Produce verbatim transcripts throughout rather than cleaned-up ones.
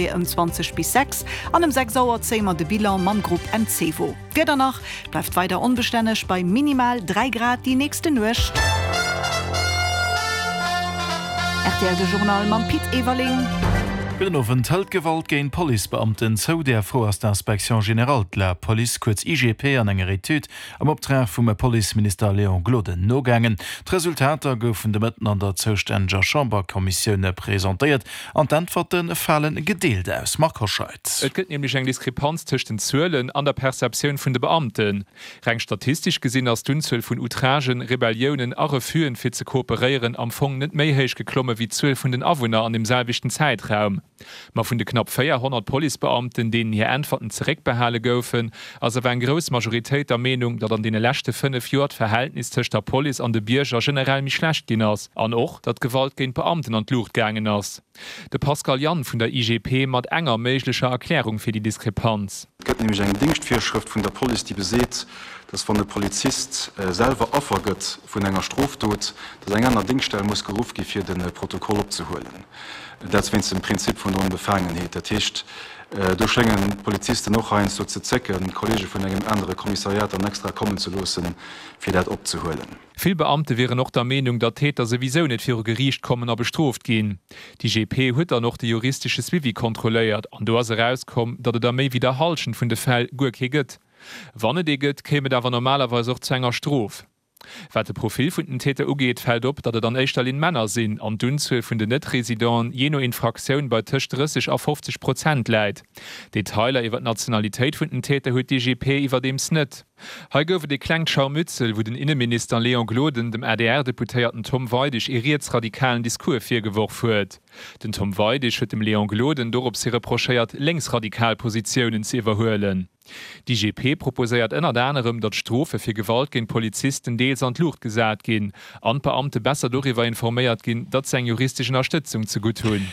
Ëm zwanzeg bis sechs an ëm sechs Auer zéie mer de Bilan mam Grupp Encevo. D'Wieder nach, bleift weider onbestänneg bei minimal dräi Grad déi nächste Nuecht. Rtl De Journal mam Pit Everling. Gudden Owend. Hëlt d'Gewalt géint Policebeamten zou? Där Fro ass d'Inspection générale de la Police, kuerz I G P, an enger Etüd am Optrag vum Policeminister Léon Gloden nogaangen. D'Resultater goufen de Mëtten an der zoustänneger Chamberkommissioun presentéiert an d'Äntwerte fale gedeelt aus. Marc Hoscheid. Et gëtt nämlech eng Diskrepanz tëscht den Zuelen an der Perceptioun vun de Beamten. Reng statistesch gesinn ass d'Unzuel vun Outragen, Rebelliounen a Refus'en fir ze kooperéieren am Fong net méi héich geklomme wéi d'Zuel vun den Awunner an deem selwechten Zäitraum. Ma vun de knapp véierhonnert Policebeamten, deenen hir Äntwerten zeréckbehale goufen, ass awer eng grouss Majoritéit der Meenung, datt an deene leschte fënnef Joer d'Verhältnis tëscht der Police an de Bierger generell méi schlecht ginn ass an och, datt d'Gewalt géint Beamten an d'Luucht gaangen ass. De Pascal Jann vun der I G P mat enger méiglecher Erklärung fir déi Diskrepanz. Et gëtt nämlech eng Dingschtvirschrëft vun der Police, déi beseet, datt wann e Polizist selwer Affer gëtt vun enger Strofdot, datt eng aner Dingschtstell muss geruff gi fir de Protokoll opzehuelen. Dat wéinst dem Prinzip vun der Onbefaangenheet. Dat heescht, do schéngen d'Polizisten och heiansdo ze zécken, Kollege vun engem anere Kommissariat dann extra kommen ze loossen, fir dat opzehuelen. Vill Beamte wieren och der Meenung, datt d'Täter souwisou net viru Geriicht kommen a bestrooft ginn. D'I G P huet dann och de juristesche Suivi kontrolléiert an do ass erauskomm, datt et a méi wéi der Hallschent vun de Fäll guer kee gëtt. Wann et ee gëtt, kéim et awer normalerweis och zu enger Strof. Wat de Profil vun den Täter ugeet, fält op, datt et an éischter Linn Männer sinn an d'Unzuel vun den Net-Residenten jee no Infraktioun bei tëscht drësseg a fofzeg Prozent läit. Detailer iwwer d'Nationalitéit vun den Täter huet d'I G P iwwerdeems net. Hei gouf et ee klengt Scharmützel, wou den Inneminister Léon Gloden dem A D R-Deputéierten Tom Weidig ee rietsradikalen Discours virgeworf huet. Den Tom Weidig huet dem Léon Gloden dorops hi reprochéiert, lénksradikal Positiounen ze iwwerhuelen. D'I G P proposéiert ënnert anerem, datt d'Strofe fir Gewalt géint Polizisten deels an d'Luucht gesat ginn an d'Beamte besser doriwwer informéiert ginn, datt se eng juristesch Ënnerstëtzung zegutt hunn.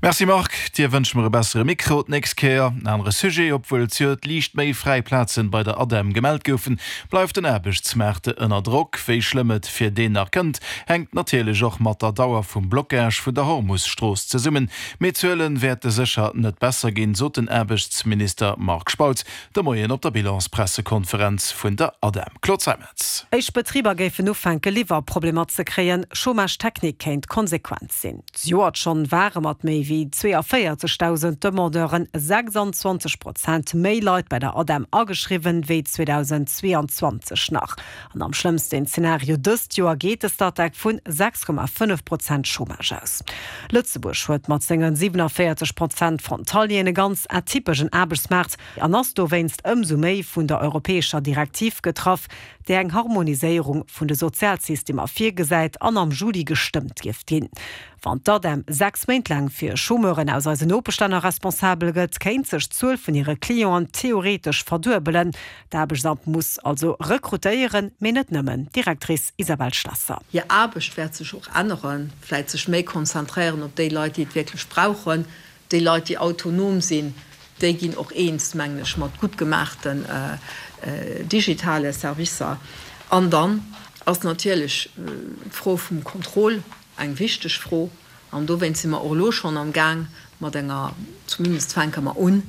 Merci Marc, dir wënsche mer e bessere Mikro d'nächst Kéier. En anere Sujet, Obwuel zejoert liicht méi fräi Plazen bei der ADEM gemellt goufen, bleift den Aarbechtsmaart ënner Drock. Wéi schlëmm et fir deen nach kënnt, hänkt natierlech och mat der Dauer vum Blockage vun der Hormus-Strooss zesummen. Mee d'Zuele wäerte sécher net besser ginn, sot den Aarbechtsminister Marc Spautz de Moien op der Bilanspressekonferenz vun der ADEM. Claude Zeimetz. Éischt Betriber géifen ufänke Liwwerproblemer ze kréien, Chômage technique kéint d'Konsequenz sinn. Zejoert schonn ware mat méi wéi zweeavéierzegdausend Demandeuren sechsanzwanzeg Prozent méi Leit bei der ADEM ageschriwwen wéi zweedausendzweeanzwanzeg nach. An am schlëmmsten Zenario dëst Joer geet de Statec vun sechs Komma fënnef Prozent Chômage aus. Lëtzebuerg huet mat sengen siewenenvéierzeg Prozent Frontalieren e ganz atypeschen Aarbechtsmaart an ass dowéinst ëmsou méi vun der europäescher Direktiv getraff, déi eng Harmoniséierung vun de Sozialsystemer virgesäit an am Juli gestëmmt dierft ginn. Wann d'ADEM sechs Méint laang fir Chômeuren aus eisen Nopeschlänner responsabel gëtt, kéint sech d'Zuel vun hire Clienten theoretesch verduebelen. D'Aarbechtsamt muss also rekrutéieren, mee net nëmmen. Directrice Isabelle Schlesser. Hir Aarbecht wäert sech och änneren, vläicht sech méi konzentréieren op déi Leit, déi et wierklech brauchen, déi Leit, déi autonom sinn, déi ginn och eens, mengen ech, mat gutt gemaachten digitale Servicer. An dann ass natierlech d'Fro vum Contrôle eng wichteg Fro an dowéinst si mer och elo schonn am Gaang mat enger, zumindest fänke mer un,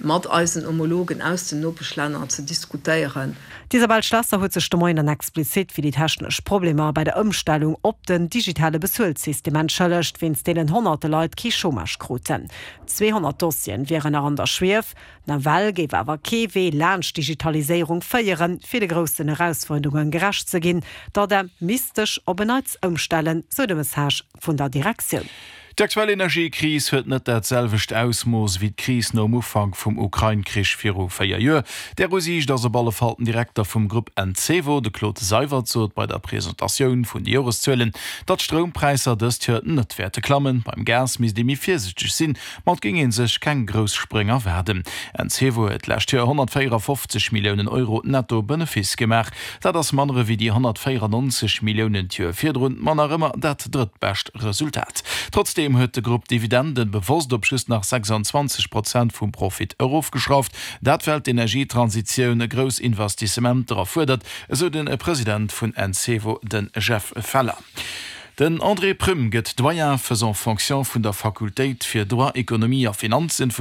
mat eisen Homologen aus den Nopeschlänner ze diskutéieren. D'Isabelle Schlesser huet sech de Moien dann explizit fir déi technesch Problemer bei der Ëmstellung op den digitale Bezuelsystem entschëllegt, wéinst deenen honnerte Leit kee Chômage kruten. zweehonnert Dossieren wieren nach an der Schwief. Nawell géif awer kee Wee laanscht d'Digitaliséierung féieren, fir de groussen Erausfuerderunge gerecht ze ginn. D'ADEM misst sech op en Neits ëmstellen, sou de Message vun der Direktioun. D'aktuell Energiekris huet net dat selwecht Ausmooss wéi d'Kris nom Ufank vum Ukrain-Krich viru véier Joer. Där Usiicht ass op alle Fall den Direkter vum Grupp Encevo, de Claude Seywert, sot bei der Presentatioun vun de Joreszuelen, datt d'Stroumpräisser dëst Joer net wäerte klammen. Beim Gas misst ee méi virsiichteg sinn, ma et géing ee sech keng grouss Spréng erwaarden. Encevo huet d'lescht Joer honnertvéierafofzeg Milliounen Euro netto Benefice gemaach. Dat ass manner ewéi déi honnertvéierannonzeg Milliounen d'Joer virdrun, ma nach ëmmer dat drëttbescht Resultat. Trotzdeem huet de Grupp d'Dividenden bewosst op just nach sechsanzwanzeg Prozent vum Profit erofgeschrauft. Dat well d'Energietransitioun grouss Investissementer erfuerdert, esou de President vun Encevo, de Jeff Feller. Den André Prüm gëtt Doyen faisant fonction vun der Fakultéit fir Droit, Ekonomie a Finanzen.